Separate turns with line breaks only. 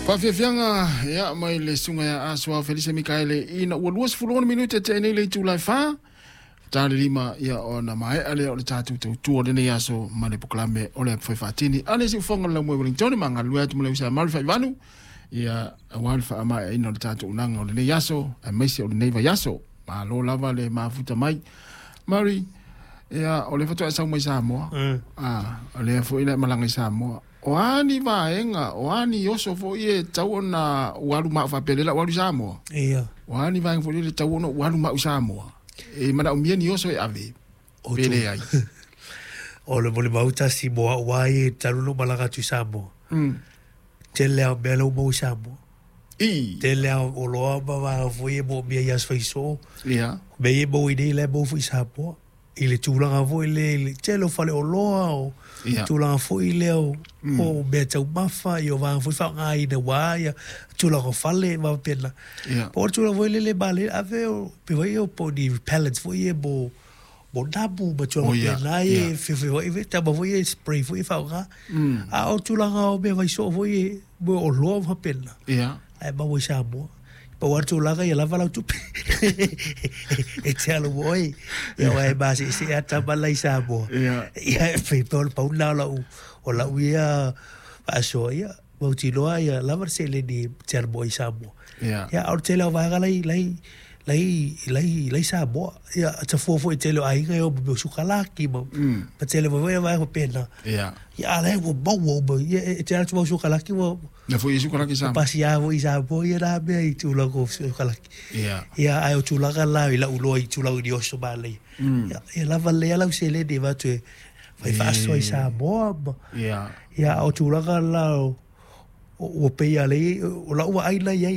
Faafiafiaga ia mai le susuga ia Asoa Felise Mikaele ina ua 26 minute tea nei le itula e 4 ta le 5 ia ona maea lea o le tatou tautua o lenei aso ma le polokalame o le Upufai Faatini a le siufofoga o le Laumua i Wellington ma galulue atu ma le uso a Mary Faivanu ia aua le faamaeaina o le tatou unaga o lenei aso aemaise o lenei vaiaso. Malo lava le mafuta mai. Mary, ia o lea faatoa e sau mai Samoa. Ah, o lea foi na e malaga i Samoa. O a ni vaega, o a ni oso foi e tatau ona ou alu ma au faapea lea o le a ou alu i Samoa?
Ia.
O a ni vaega foi lele e tatau ona ou alu ma au i Samoa? E manaomia ni oso e ave, pe leai?
O le molimau tasi mo au lava ia talu ona ou malaga atu i Samoa, tele lava o mea la ua maua i Samoa.
I.
Tele lava o oloa ma vaega foi ia e moomia i aso faisoo.
Ia.
O mea ia e maua i inei la e maua foi i Samoa. I le tulaga foi lea i le tele o faleoloa, o tulaga foi lea o o meataumafa, ia o vaega foi faaaogaina aua ia tulaga o fale ma faapena. Po o le tulaga foi lele e manaia ave o mea foi ia po o ni repellents foi ia mo mo namu ma tulaga faapena ia e feofeoai foi tama foi ia e spray foi e faaaoga. A o tulaga o mea vaisoo foi ia, mo oloa ma faapena, la e maua i Samoa. Pau lava le tulaga ia lava lau tupe e te alu mo oe. Ia aua e maseesee lava tama la i Samoa. Ia e pei o le pau lena o lau, o lau ia faasoa, ia mautinoa ia lava le seleni e te alu mo oe i Samoa. Ia a o le tele lava o vaega la i, la i, la i, la i, la i Samoa. Ia, e tafua foi i le tele o aiga e o ma mea o sukalaki ma, ma tele foi vaega faapena. Ia a o la e ua maua uma, ia e te alu atu ma au sukalaki ua
Na foi i sukalaki Samoa.
Pasia foi i Samoa ia na mea i tulaga o sukalaki. Ia ae o tulaga la i lau iloa i tulaga i ni oso manaia. Ia, ia lava lelei lava lau seleni e avatu e fai faasoa i Samoa ma. Ia a o tulaga la o, ua pei lava o lau vaai la i ai.